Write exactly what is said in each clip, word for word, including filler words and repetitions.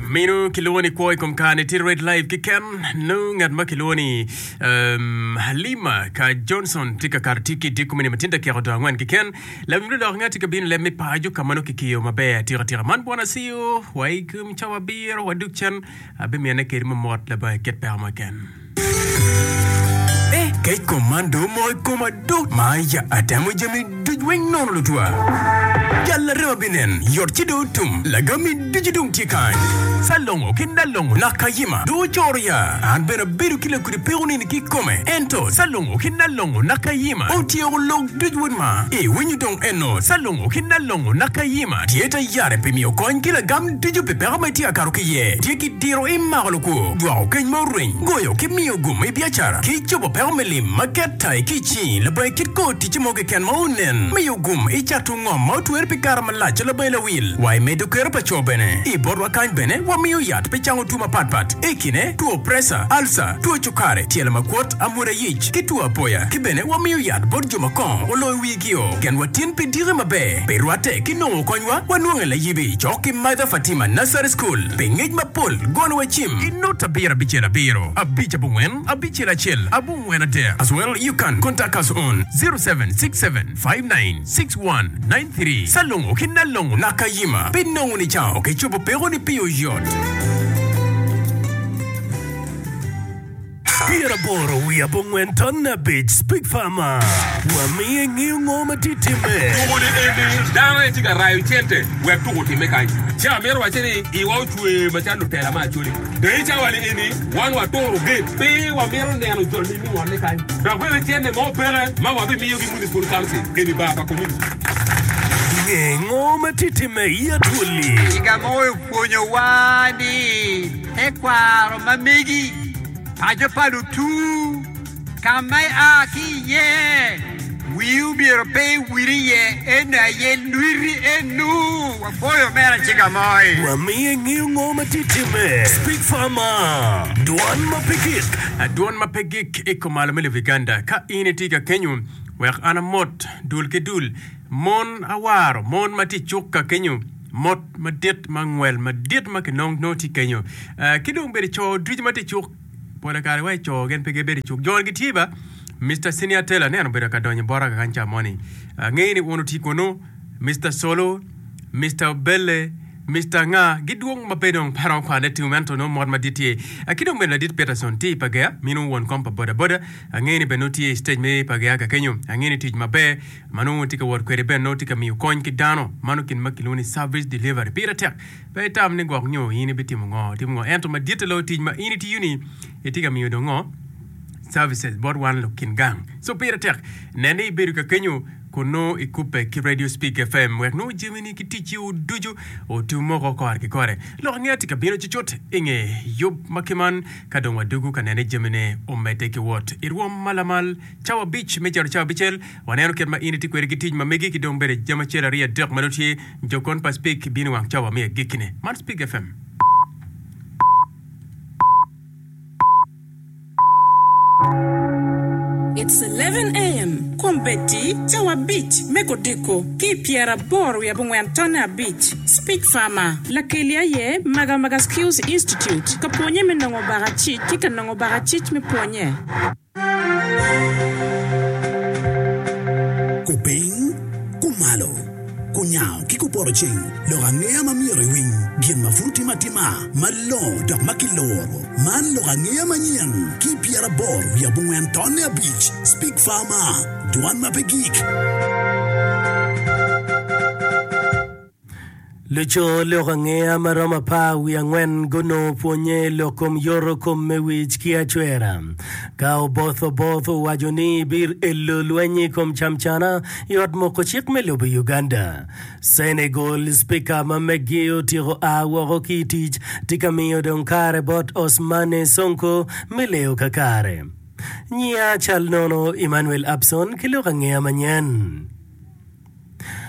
Meno kilwongo ni kwo i kom kare-ni tye Red Live keken. Nongo ngat ma kilwongo ni um, Halima ka Johnson tye ka kato tye ki i dye komine ma tye dakika odong angwen keken. Lawiny lulok ngat tye ka bino i leb me paco ka ma nongo kikiyo maber atika tika. Man bwana Acio wa i kom cawa abiro wadug cen abimine kedi mamot labongo kit peko mo keken. Eh, kec kom man dong omoko i koma do! Ma ya atemo jami duc weng nono lutwa. Jal larema binen, yot ci dong otum. Lagammi ducu dong tye kany. Salongo ki Nalongo Nakayima dong ocoro ya. An bene abedo ki lakudi peko nini kikome. Ento Salongo ki Nalongo Nakayima otyeko lok duc wod ma. Iwinyo dong eno, Salongo ki Nalongo Nakayima tye tayare pi miyo kony ki lagam ducu pi peko ma itye ka kato ki iye. Tye ki diro i mako lukwo, dwoko keny ma orweny, goyo ki miyo gum i biacara, ki cobo peko me lim ma ket tai ki i cingi labongo kit kor ticce mo keken ma onen, miyo gum i cato ngom ma otwere pi kare malac labongo lawil, wa i medo kero pa co bene. I botwa kany bene wamiyo yat pi cango two mapatpat, i kine, two preca, alca, two cukari, tyelo makwot, amwoda yic, ki two apoya. Ki bene wamiyo yat bot jo ma kongo oloyo wigio. Genwa tin pi diki maber. Pi rwatte ki nongo konywa, wanwonge layibi cok ki Mother Fatima Nursery School. Pi ngec mapol, gonowa cim i not abiro abicel abiro abic abongwen abicel acel abongwen adek as well you can contact us on zero seven six seven five nine six one nine three Salongo ki Nalongo Nakayima pi nongo nicango ki cobo pekoni pi oyot. Pyeraboro wiye abongwen tonne abic Speak Farmer Wamiyo ingeyo ngo ma tye timme. Tuko ni eni dano aye tye ka rayo cente wek tuko otimme kany. Ci amito wacce ni iwa ocwe macalo lutela me Acholi. Dong i cawa ni eni wan waturo gate pe wamito neno joni me ngolle kany. Dok bene cente mo peke ma wabimiyogi Municipal Council eni bar pa community. Nge ngo ma tye timme i Acholi. Ciga mo opwonyowa ni tekwaro ma megi paco pa lutu ka ma ia ki iye, wii omyero pe iwil iye, eno aye lwiti enu. Wapwoyo omera Cigamoi. Wamiyo ingeyo ngo ma tye timme. Speak Farmer, Dwan ma pe gik. Dwon ma pe gik i kumalo me lobo Uganda. Ka in itye ka kenyo, wek an amot dul ki dul. Mon awaro, mon ma tye i cuk ka kenyo, mot madit ma ngwel madit ma kinong nongo tye kenyo. Ki dong bedo co ducu ma tye i cuk, pola kare wa i co gin pe gibedo i cuk. Jo gitye ba, Mister Senior Taylor aneno obedo ka donyo bota kakany ca moni. Angeyo ni wun wutye kunu, Mister Solo, Mister Obele, Mister Nga, gidwong ma pe dong pe aromo kwane tum ento nongo mot madit tye. Ki dong bene ladit Peterson tye i Pagea, minu won kom pa boda boda. Angeyo ni bene nongo tye i stage me Pagea kakenyo. Angeyo ni tic maber ma nongo tye ka wot kwede bene nongo tye ka miyo kony ki dano. Mano gin ma kilwongo ni service delivery. Pire tek. Pe itam ni gwok nyo in ibitimo ngo, timo ngo. Ento maditte loyo tic ma in itiyo ni itye ka miyo dong ngo? Services bot wan lukin gang. So pire tek. Nen ni ibedo ka kenyo kun nongo ikubbe ki Radio Speak F M wek nongo jamini ki ticci-wu ducu otum moko kore ki kore. Lok angeya tye ka bino cucut i nge yub ma kiman ka dong wadugu ka nene jamine omedde ki wot i rwom ma lamal. Cawa abic me cito cawa abicel, waneno kit ma in itye kwede ki tic ma megi ki dong bedo jami acel aryo adek ma nongo tye jokon pa Speak bino i wang cawa me agikkine. Man Speak F M. It's eleven A M Kombeddi cawa abic me kodiko ki i pyeraboro wiye abongwen tonne abic. Speak Farmer. Lakeli aye Maga Maga Skills Institute ka pwonye me nongo bakacic ki ka nongo bakacic me pwonye. Kupiny, kumalo, kunyango ki kupoto ceng, lok angeya ma myero iwiny, gin ma pud otime atima, malongo dok ma kiloro. Man lok angeya manyen ki i pyeraboro wiye abongwen tonne abic, Speak Farmer, Dwan ma pe gik. Luco lok angeya ma romo apar wiye angwen gunongo pwonye i lok kom yoto kom me wic ki acwera. Ka Oboth Oboth owaco ni bir elo lweny i kom camcana i ot moko cik me lobo Uganda. Senegal, Spika ma meggi otyeko a woko ki i tic tye ka miyo dong kare bot Ousmane Sonko me leyo kakare. Nyiya cal nono Emmanuel Abson ki lok angeya manyen.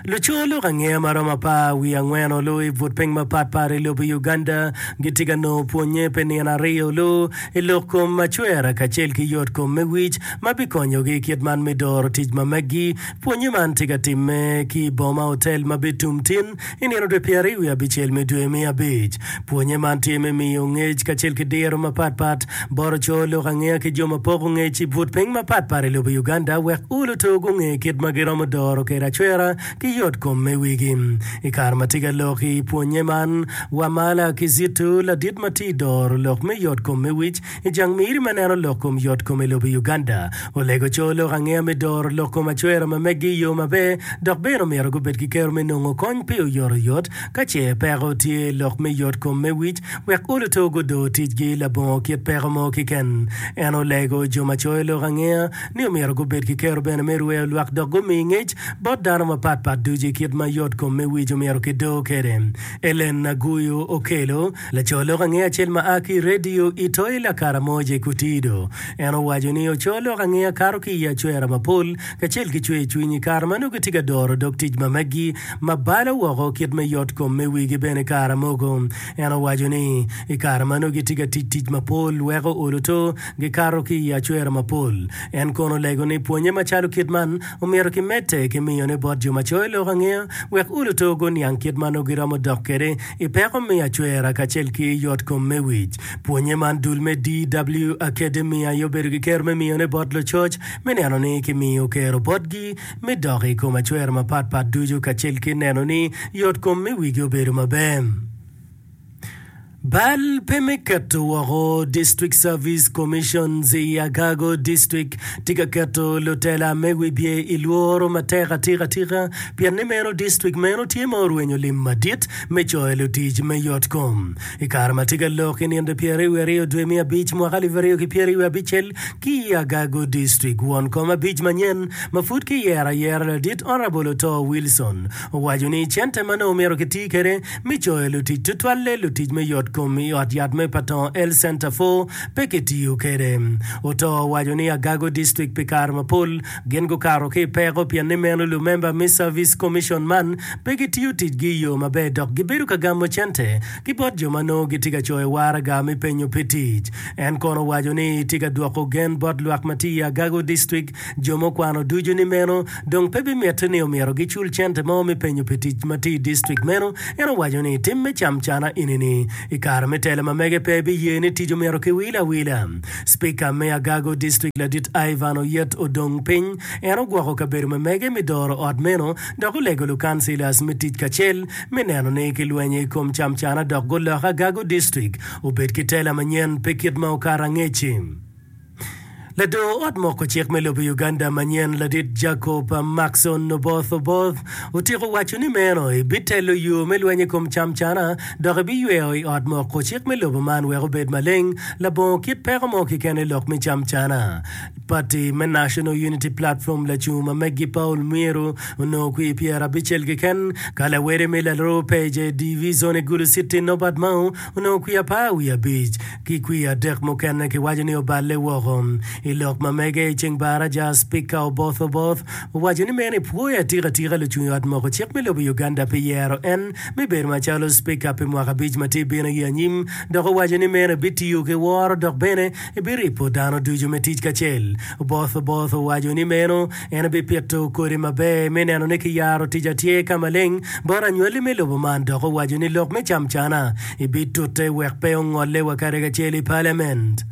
Luco lok angeya ma romo apar wiye angwen olu i but piny mapatpat i lobo Uganda gitye ka nongo pwonye pi nino aryo olu i lok kom acwera kacel ki yot kom me wic ma bikonyogi kit man me doro tic ma meggi. Pwonye man tye ka timme ki i Boma Hotel ma bitum tin i nino dwe pyeraryo wiye abicel me dwe me abic. Pwonye man tye me miyo ngec kacel ki diro mapatpat bot oco lok angeya ki jo ma poko ngec i but piny mapatpat i lobo Uganda wek oluto gunge kit ma giromo doro kwede acwera ki yot kom me wigi. I kare ma tye ka lok i pwonye man, Wamala Kizito, ladit ma tye i doro lok me yot kom me wic i jang miri ma neno lok kom yot kom i lobo Uganda, olego co lok angeya me doro lok kom acwera ma meggi i yo maber dok bene omyero gubed ki kero me nongo kony pi oyotoyot ka ce peko tye i lok me yot kom me wic wek oluto gudor ticgi labongo kit peko mo keken. En olego jo ma coyo lok angeya ni omyero gubed ki kero bene me rweyo lwak dok gumi ngec bot dano mapatpat ducu i kit ma yot kom me wic omyero kidor kwede. Ellen Aguyo Okello, laco lok angeya acel ma a ki i redio i Toi Lakaramoja i Kotido, en owaco ni oco lok angeya kato ki i acwera mapol kacel ki cwer cwiny i kare ma nongo gitye ka doro dog tic ma meggi ma balo woko kit me yot kom me wigi bene kare mogo. En owaco ni, I kare ma nongo gitye ka tic tic mapol weko olo to gikato ki i acwera mapol. En kono olego ni pwonye macalo kit man omyero kimedde ki miyone bot jo ma coyo lok angeya wek olo to guniang kit ma nongo giromo dok kwede i peko me acwera kacel ki yotkom me wic. Pwonye man dul me D W Academy aye obedo ki kero me miyone bot lucoc me neno ni kimiyo kero botgi me dok i kom acwera mapatpat ducu kacel ki neno ni yotkom me wigi obedo maber. Bal pe me keto woko District Service Commissions i Agago District tye ka keto lutela me wibye i lworo matek atika atika pien ni meno district meno tye ma orwenyo lim madit me coyo lutic me yot kom. I kare ma tye ka lok i nino pyeraryo wiye aryo dwe me abic mwaka alip aryo ki pyeraryo wiye abicel ki i Agago District, won kom abic manyen ma pud kiyero ayera ladit Honourable Otoo Wilson owaco ni cente ma nongo myero kiti kwede me coyo lutic tutwalle lutic me yot kom i ot yat me Patong Health Centre four pe kitiyo kwede. Otoo owaco ni Agago District pi kare mapol gin gukato ki i peko pien ni meno lumemba me Service Commission man pe gitiyo ticgi i yo maber dok gibedo ka gamo cente ki bot jo ma nongo gitye ka coyo waraga me penyo pi tic. En kono owaco ni tye ka dwoko gen bot lwak ma tye i Agago District jo mukwano ducu ni meno dong pe bimitte ni omyero gicul cente mo me penyo pi tic ma tye i distrik meno. En owaco ni tim me camcana eni-ni i kare me telo ma mege pe biye ni tic omyero kiwil awila. Spika me Agago District Ladit Ivan Oyet odong piny. En ogwoko kabedo ma mege me doro ot meno dok olego lukansilas me tic kacel me neno ni kilwenyo i kom camcana dok gulok Agago District obed ki tela manyen pe kit ma okato angec-ci. Lador ot moko cik me lobo Uganda manyen ladit Jacob Markson Oboth Oboth otyeko waco ni meno ebitelo yo me lweny i kom camcana dok ebiyweyo i ot moko cik me lobo man wek obed maleng labongo kit peko mo keken i lok me camcana. Pati me National Unity Platform lacung ma meggi Paul Mwiru onongo kwir pyerabicel keken ka lawede me Laroo Peje Divizon i Gulu City Norbert Mao onongo kwir apar wiye abic. Ki kwir adek mukene kiwaco ni oballe woko. I lok ma mege i ceng baraja, Spika Oboth Oboth owaco ni meno epwoyo atika atika lucung i ot moko cik me lobo Uganda pi yero en me bedo macalo Spika pi mwaka abic ma tye bino i anyim dok owaco ni meno ebitiyo ki woro dok bene ebiripo dano ducu me tic kacel. Oboth Oboth owaco ni meno En ebipito kodi maber me neno ni kiyaro tic atyer ka maleng bot anywalli me lobo man dok owaco ni lok me camcana ebitute wek pe ongolle wa kadi kacel i palament.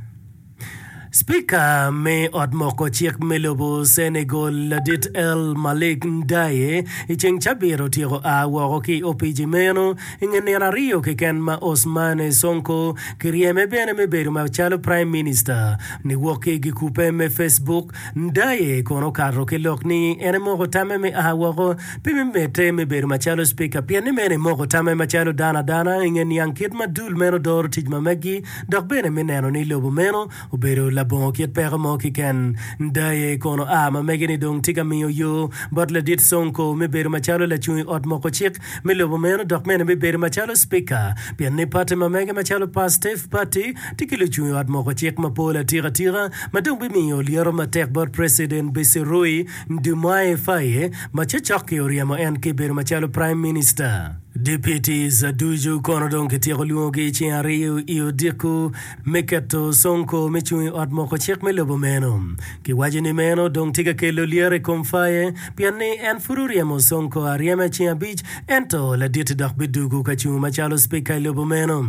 Spika me ot moko cik me lobo Senegal ladit El Malick Ndiaye i ceng cabit otyeko a woko ki i opici meno i nge nino aryo keken ma Ousmane Sonko kiryeme bene me bedo macalo Prime Minister niwok ki i gikupe me Facebook. Ndaye kono okato ki lok ni en emoko tamme me a woko pe me medde me bedo macalo cipika pien ni meno emoko tamme macalo dano adana i nge niang kit ma dul meno doro tic ma meggi dok bene me neno ni lobo meno obedo labongo labongo kit peko mo keken. Ndaye kono a ma mege-ni dong tye ka miyo yo bot ladit Sonko me bedo macalo lacung i ot moko cik me lobo meno dok bene me bedo macalo Spika pien ni pati ma mege macalo Pastef Party tye ki lucung i ot moko cik mapol atika tika ma dong bimiyo lyeto matek bot President Bassirou Diomaye Faye ma cokcok-ki oryemo en ki bedo macalo Prime Minister. Deputies ducu kono dong kityeko lwongogi i ceng aryo i odiko me keto Sonko me cung i ot moko cik me lobo meno. Kiwaco ni meno dong tye ka kelo lyeto i kom Faye pien ni en pud oryemo Sonko aryema i ceng abic ento ladit-ti dok bidugo ka cung macalo Spika i lobo meno.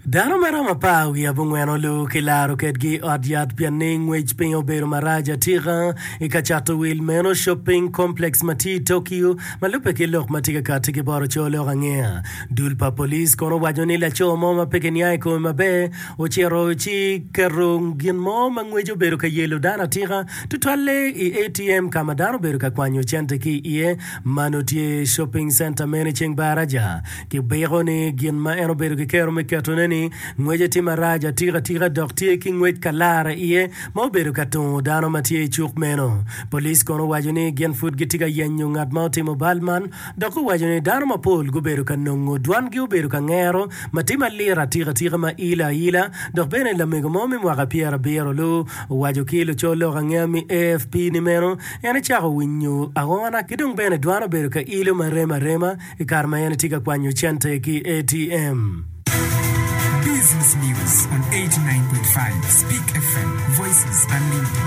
Dano ma romo apar wiye abongwen olu kilaro kedgi i ot yat pien ni ngwec piny obedo marac atika i ka cato wil meno Shopping Complex ma tye i Tokyo ma lubbe ki lok ma tye ka kati ki bot oco lok angeya. Dul pa police kono owaco ni laco mo ma pe kiniang i kome maber ocito ci keto gin mo ma ngwece obedo ka yelo dano atika tutwalle i A T M ka ma dano obedo ka kwanyo cente ki iye ma nongo tye i shopping center meno i ceng baraja. Kibiko ni gin ma en obedo ki kero me ketone ni ngwece tye marac atika atika dok tye ki ngwec kalara iye ma obedo ka tungo dano ma tye i cuk meno. Police kono owaco ni gin pud gitye ka yenyo ngat ma otimo bal man dok owaco ni dano mapol gubedo ka nongo dwangi obedo ka ngero ma tye malit atika atika ma ilo aila dok bene lamego mo me mwaka pyerabiro lu owaco ki luco lok angeya me A F P ni meno en ecako winyo aona ki dong bene dwan obedo ka ilo ma rem arema i kare ma en tye ka kwanyo cente ki A T M. Business News on eighty-nine point five Speak F M, Voices Unlimited.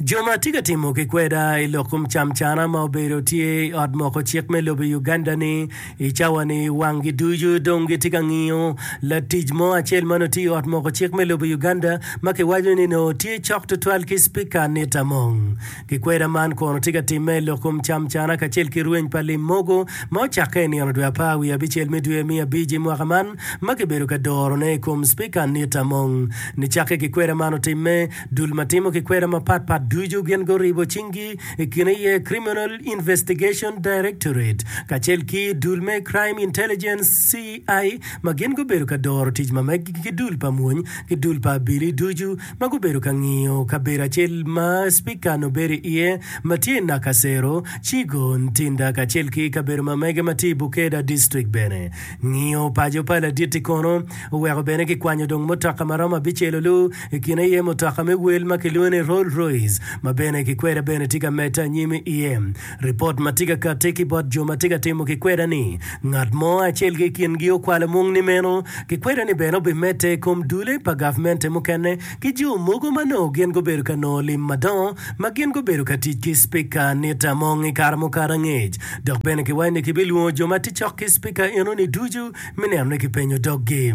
Jo ma tye ka timo ki kweda i lok kom camcana ma obedo tye i ot moko cik me lobo Uganda ni i cawa ni wanggi ducu dong gitye ka ngiyo latic mo acel ma nongo tye i ot moko cik me lobo Uganda ma kiwaco ni nongo tye cok tutwal ki Spika Anita Among. Kikweda man kono tye ka timme i lok kom camcana kacel ki rweny pa lim mogo ma ocakke i nino dwe apar wiye abicel me dwe me abic i mwaka man ma kibedo ka dorone i kom Spika Anita Among. Nicakke kikweda man otimme, dul ma timo kikweda mapatpat ducu gin guribo cinggi i kine iye Criminal Investigation Directorate kacel ki dul me Crime Intelligence C I ma gin gubedo ka doro tic ma meggi ki dul pa mwony ki dul pa abili ducu ma gubedo ka ngiyo kabedo acel ma Spika obedo iye ma tye i Nakasero, Kigo, Ntinda kacel ki kabedo ma mege ma tye i Bukeda District bene. Ngiyo paco pa ladit-ti kono oweko bene kikwanyo dong mutoka ma romo abicel olu i kine iye mutoka me wel ma kilwongo ni Rolls Royce ma bene kikweda bene tye ka medde anyim iye. Ripot ma tye ka katti ki bot jo ma tye ka timo kikweda ni ngat mo acel ki i kingi okwalo mung ni meno kikweda ni bene obimedde i kom dule pa gavmente mukene ki jo mogo ma nongo gin gubedo ka nongo lim madongo ma gin gubedo ka tic ki Spika Anita Among i kare mukato angec. Dok bene kiwaco ni kibilwongo jo ma tye cok ki Spika enoni ducu me neno ni kipenyo doggi.